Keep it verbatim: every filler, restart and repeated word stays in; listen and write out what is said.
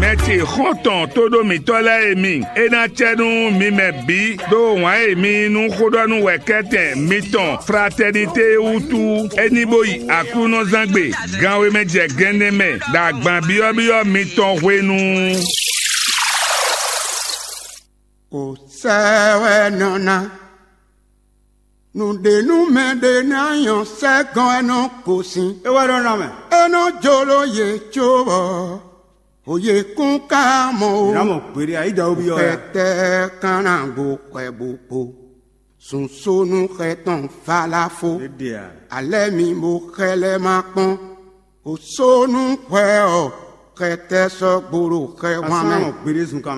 Ɛ ce xɔ́ntɔn tóɖó mǐtɔn lɛ́ɛ e mi, é ná cɛ nú mi mɛ bǐ ɖó wǎn e mi yí nú xóɖɔ́núwɛkɛ́tɛn mitɔn Fratɛnité é wútu. É ní bó yi Aklúnɔzángbe ganwe mɛ jɛ gɛnnɛ mɛ ɖo agban byɔ́byɔ́ mitɔn hwenu. Kò sɛ wɛ nɔ ná. Nǔɖé nú mɛ ɖé ná nyɔ sɛ́gɔn wɛ nɔ gosín. É wɛ nɔ ná mɛ. É nɔ jló yě cóbɔ yě kún ka mɔ o. Ná mɔ gbeɖé ayídawó byɔ́ ya. Xɛtɛ́ kán ná gbo xwɛ bó kpo. Sunsónú xɛ tɔn valafó. É ɖe a. Alɛ́ mi bó xɛ lɛ́ ma kpɔ́n. Osónú xwɛ ɔ́, xɛtɛ́ sɔ́ gbo ɖo xɛ wán mɛ. Asán mɔ gbeɖé zunkan mɛ.